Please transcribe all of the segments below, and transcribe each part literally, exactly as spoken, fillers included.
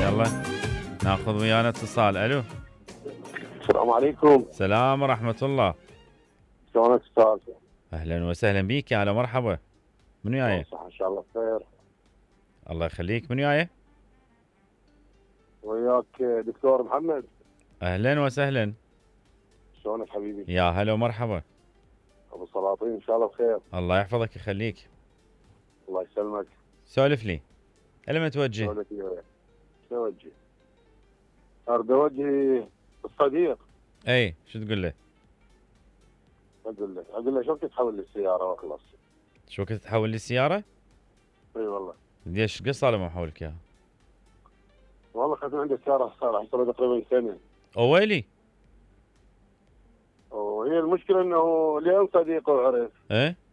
يلا ناخذ ويانا اتصال. الو السلام عليكم. السلام ورحمة الله. شلونك استاذ؟ اهلا وسهلا بيك، يا هلا مرحبا. من وياي؟ صح ان شاء الله بخير. الله يخليك. من وياي؟ وياك دكتور محمد. اهلا وسهلا. شلونك حبيبي؟ يا هلا ومرحبا. ابو سلاطين ان شاء الله بخير. الله يحفظك يخليك. الله يسلمك. سولف لي. الى ما توجه؟ سولف لي وياك. شو اوجه؟ اريد اوجه الصديق. اي شو تقول له؟ اقول له اقول له شو تحول لي السياره واخلص. شو كنت تحول لي السيارة؟ اي والله. ليش قد صار ما محولك اياها؟ والله اخذت من عندي السياره صار صار تقريبا سنه. اويلي. وهي المشكله انه لين صديقه عرف. ايه؟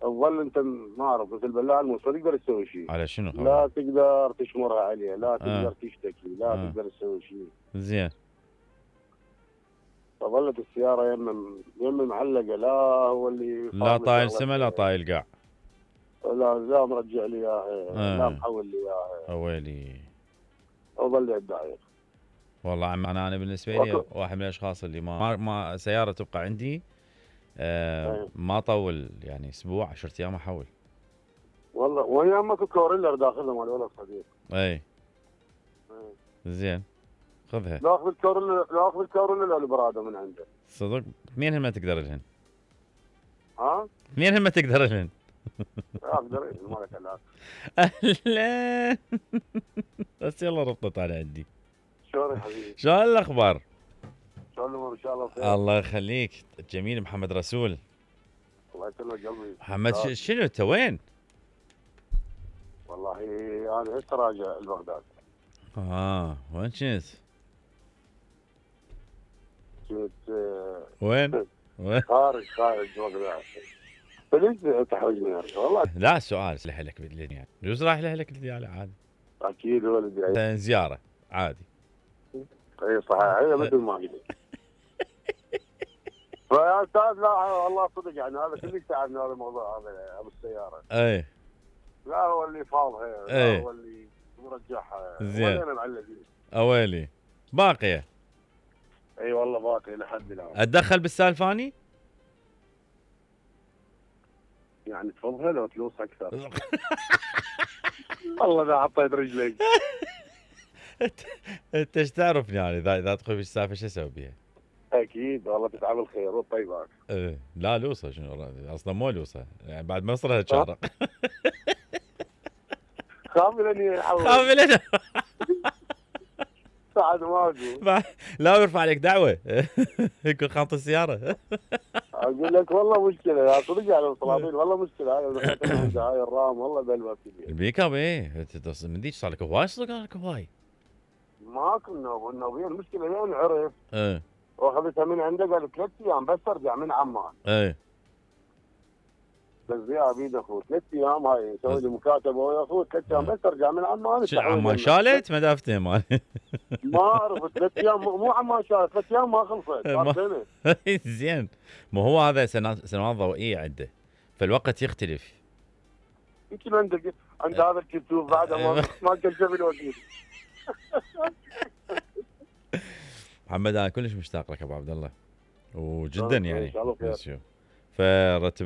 تظل انت ما اعرف مثل البلاع الموس ما تقدر تسوي شيء. على شنو خبر؟ لا تقدر تشمرها عليه، لا تقدر آه. تشتكي، لا آه. تقدر تسوي شيء. زين. فظلت السياره يم يم معلقه، لا هو اللي لا طايل سما لا طايل قاع. لا لا مرجع لي اياها، آه. لا محول لي اياها. اويلي. وظل يدعي. والله عم انا انا بالنسبه لي واحد من الاشخاص اللي ما ما سياره تبقى عندي آه ما طول يعني اسبوع عشرة ايام احول. والله وهي امك كوريلا داخلها مال ولد صديق. اي زين خذها. لا اخذ الكوريلا لا اخذ الكوريلا البراده من عنده. صدق مين ما تقدر لهن؟ ها؟ مين ما تقدر لهن؟ اقدر مالك لا. اهلا بس يلا ربطت على عندي. شلون يا حبيبي؟ شلون الاخبار؟ شلون الامور ان شاء الله بخير. الله يخليك. الجميل محمد رسول. الله يسلمك قلبي. محمد ش... شنو انت وين؟ والله انا هسه راجع لبغداد. اه وين كنت؟ كنت آه، وين؟ وين؟ خارج خارج بغداد. فليش تحوجني والله؟ لا سؤال لك بالدنيا يجوز رايح لك الدنيا عادي. اكيد ولدي. زياره عادي. اي صحيح هي مثل ما قلت. فيا استاذ لا والله صدق يعني هذا كلش تعبني هذا الموضوع هذا ابو السياره. اي لا هو اللي فاضها، لا هو اللي مرجعها. زين. وانا معلقين. اويلي باقيه. اي والله باقي لحد الان. اتدخل بالسالفاني؟ يعني تفضلها لو تلوص اكثر. والله اذا حطيت رجلك. انت ايش تعرفني يعني اذا اذا ادخل بالسالفه شو اسوي بيها؟ اكيد والله تتعب الخير والطيبات. ايه لا لوصه شنو اصلا مو لوصه يعني بعد ما يصير تشارق. خاملني خاملني بعد ما اقول. لا يرفع عليك دعوه. يكون خانط السياره. اقول لك والله مشكله يا صدق على السلاطين والله مشكله هاي هاي الرام والله بلوى كبير. البيك اب ايه من ديش صار لك هواي صار لك هواي. ماكو النوب النوبيه المشكله لين عرف. ايه واخذتها من عنده قال ثلاث ايام بس ارجع من عمان. ايه بس يا بيد اخوي ثلاث ايام هاي يسوي لي مكاتبه ويا اخوي ثلاث ايام بس ارجع من عمان. شو عمان شالت ما دافته مال. ما اعرف ثلاث ايام مو عمان شالت ثلاث ايام ما خلصت صار سنه. زين ما هو هذا سنوات ضوئيه عنده فالوقت يختلف. يمكن عندك عند هذا الكتوب بعد ما ما كان شاف الوكيل. محمد انا كلش مشتاق لك ابو عبد الله وجدا يعني. ان شاء الله خير. فرتب